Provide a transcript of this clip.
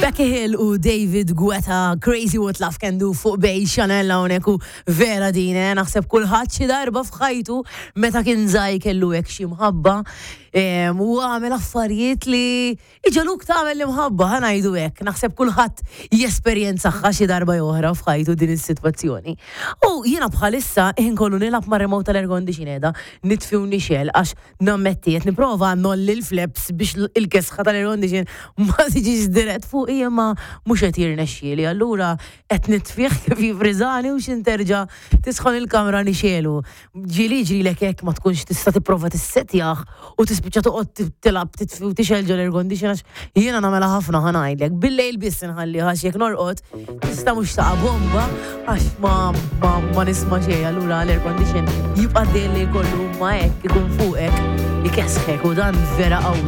Becky Hill u David Guetta, Crazy What Love Can Do fuq Bay Chanel hawnhekk u vera din, eh, naħseb kulħadd xi darba f'ħajtu meta kien żgħir kellu hekk xi mħabba u għamel affarijiet li iġaluk tagħmel l-imħabba ħa ngħidu hekk. Naħseb kulħadd jesperjenzaha xi darba jew oħra f'ħajtu din is-sitwazzjoni. U jiena bħalissa ħin kollu nilgħab mar-remote tal-air condition qiegħda nitfi u nixgħel għax Nammetti, qed nipprova ngħolli l-flaps biex il-kesħa tal-air condition ma tiġix dirett fuqi imma mhux qed jirnexxieli. Allura qed nitfih kif jifriżani u x'in terġa' tisħon il-kamra nixegħlu. Ġieli jiġrilek hekk ma tkunx tista' tipprova tissettjah u tispiċċa toqgħod tilgħab titfi u tixgħel ġol-air condition għax jiena nagħmilha ħafna ħa ngħidlek. Bil-lejl biss inħallih għax jekk norqod Tista' mhux taqa' bomba għax ma ma ma nisma' xejn allura l-air condition jibqa' dejjem li jkollu ma hekk ikun fuqek ikesħek u dan vera qawwi.